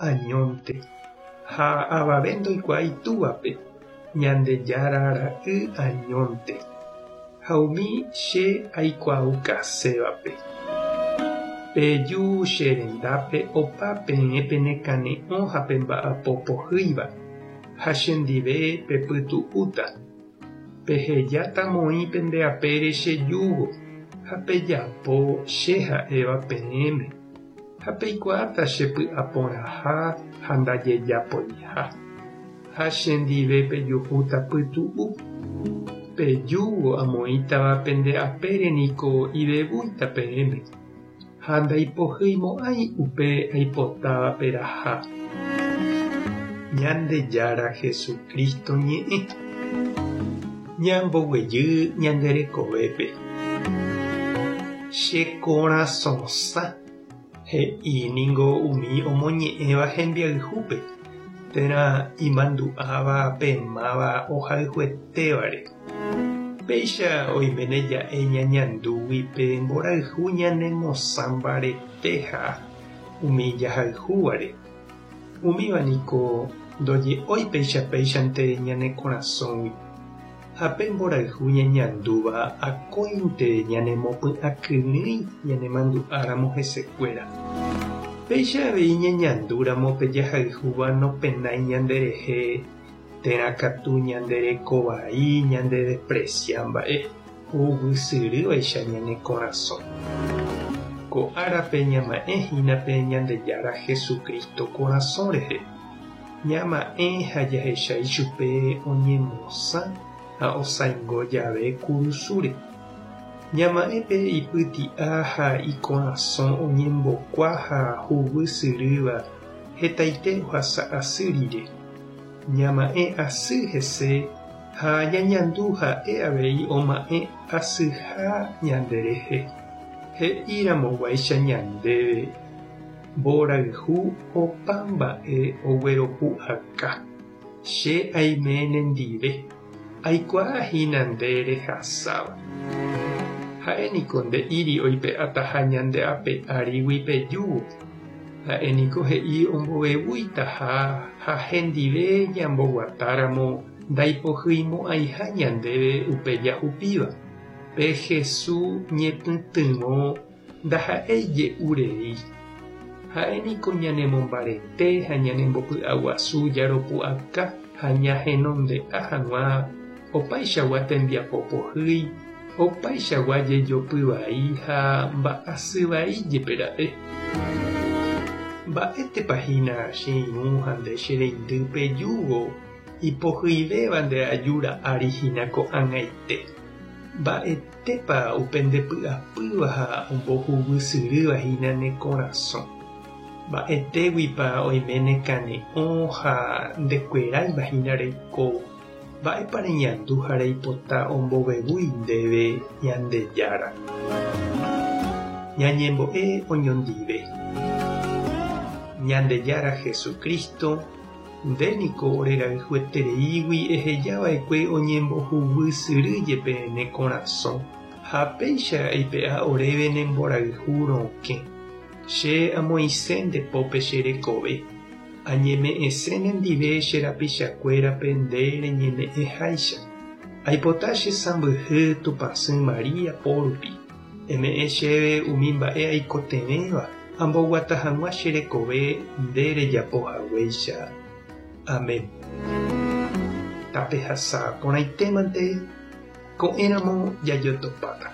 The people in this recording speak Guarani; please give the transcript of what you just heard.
añónte, ha avave ndoikuaái Túvape, Ñandejára Ra'y añónte, ha umi che aikuaaukasévape. Peju che rendápe opa peẽ penekane'õ ha pemba'apo pohýiva, ha chendive pepytu'úta. Pehejáta moĩ pende apére che júgo ha pejapo che ha'éva peẽme, ha peikuaáta che py'aporãha ha ndajejapoiha, ha chendive pejuhúta pytu'u. Pe júgo amoĩtava pende apére niko ivevúita peẽme, ha ndaipohyimo'ãi upe aipotáva peraha. Ñandejára Jesucristo ñe'ẽ. Ñamboguejy ñande rekovépe. Che korasõsã, he'i ningo umi omoñe'ẽva hembiayhúpe, térã imandu'áva pe máva ohayhuetévare. Péicha oiméne ja'e ñañandúgui pe mborayhu ñanemosã mbaretéha umi jahayhúvare. Umíva niko ndoje'ói péicha péichante ñane korasõgui, ha pe mborayhu ñañandúva akóinte ñanemopy'akyrỹi ñanemandu'áramo hesekuéra. Péicha avei ñañandúramo pe jahayhúva nopenái ñanderehe térã katu ñande reko vai ñandedespresia mba'e huguysyrývaicha ñane korasõ. Ko árape ñama'ẽ hína pe Ñandejára Jesucristo korasõ rehe. Ñama'ẽ ha jahecha ichupe oñemosã ha osaingo jave kurusúre. Ñama'ẽ pe ipyti'a ha ikorasõ oñembokua ha huguysyrýva hetaite ohasa asy rire. Ñama'ẽ asy hese ha ñañandu ha'e avei oma'ẽ asyha ñanderehe. He'iramoguáicha ñandéve, Mborayhu opa mba'e ogueropu'aka. Che aime nendive, aikuaa hína nde rehasáva. Ha'e niko nde'íri oipe'ataha ñande ape árigui pe júgo. Ha'e niko he'i ombovevuitaha ha hendive ñamboguatáramo ndaipohyimo'ãiha ñandéve upe jahupíva. Pe Hesu ñepytyvõ ndaha'éi je'u rei. Ha'e niko ñanemombarete ha ñanembopy'aguasu jaropu'aka ha ñahenonde'a hag̃ua opaichagua tembiapo pohýi, opaichagua jejopy vai ha mba'asy vai jepe ra'e. Mba'étepa hína che irũ ha nde che reindy pejúvo ipohyivéva nde ajúra ári hína ko'ag̃aite? Mba'etépa upe nde py'apýva ha ombohuguysyrýva hína ne korasõ? Mba'etéguipa oime ne kane'õ ha ndekueráiva hína reikóvo? Mba'épa reñandu ha reipota ombovevúi ndéve Ñandejára? Ñañembo'e oñondive. Ñandejára Jesucristo, Nde niko orerayhuetereígui eheja va'ekue oñembohuguy syry jepe ne korasõ, ha péicha eipe'a oréve ne mborayhu rokẽ. Che amoĩse nde pópe che rekove, añeme'ẽse nendive che rapichakuérape nde reñeme'ẽháicha. Aipota che sãmbyhy Tupãsy María po rupi. Eme'ẽ chéve umi mba'e aikotevẽva amboguata hag̃ua che rekove nde rejapo haguéicha. Amén. Tapehasa porãitémante, ko'ẽramo jajotopáta.